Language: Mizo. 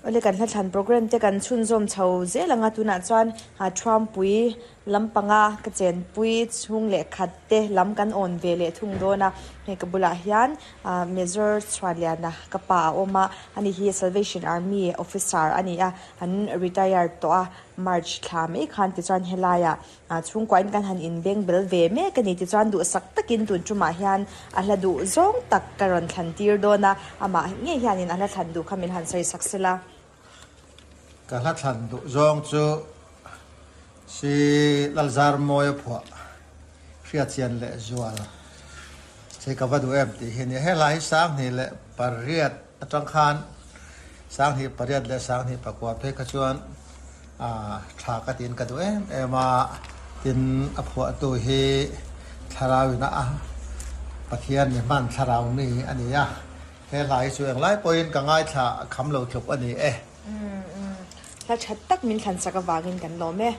Awle kan hlathlan programme te kan chhunzawm chho zel ang a, tunah chuan Thuampui lampanga ka chenpui chhung leh khat te lam kan awn ve leh thung dawn a, hei ka bulah hian Major Chhuanliana ka pa a awm a, ani hi Salvation Army officer a ni a, an retired tawh a, March thla mai khan tichuan helaiah Chhungkuain kan han inbeng bel ve mek a ni tichuan duhsak takin tun tumah hian a hla duh zawng tak ka rawn thlan tir dawn a, amah ngei hianin a hla thlan duh kha min han sawi sak sela. Ka hla thlan duh zawng chu si Lalzarmawia phuah hriatchian leh zual che ka va duh em tih hi a ni. He hla hi Sanghnih leh pariat atang khan Sanghnih pariat leh Sanghnih pakua phei kha chuan Tha ka tiin ka duh em em a, tin a phuahtu hi thlarau in a Pathian mi hman thlarau mi a ni a, he hla hi chu englai pawhin ka ngaithla kham lo tluk a ni e. Hla tha tak min thlansak avangin kan lawm e.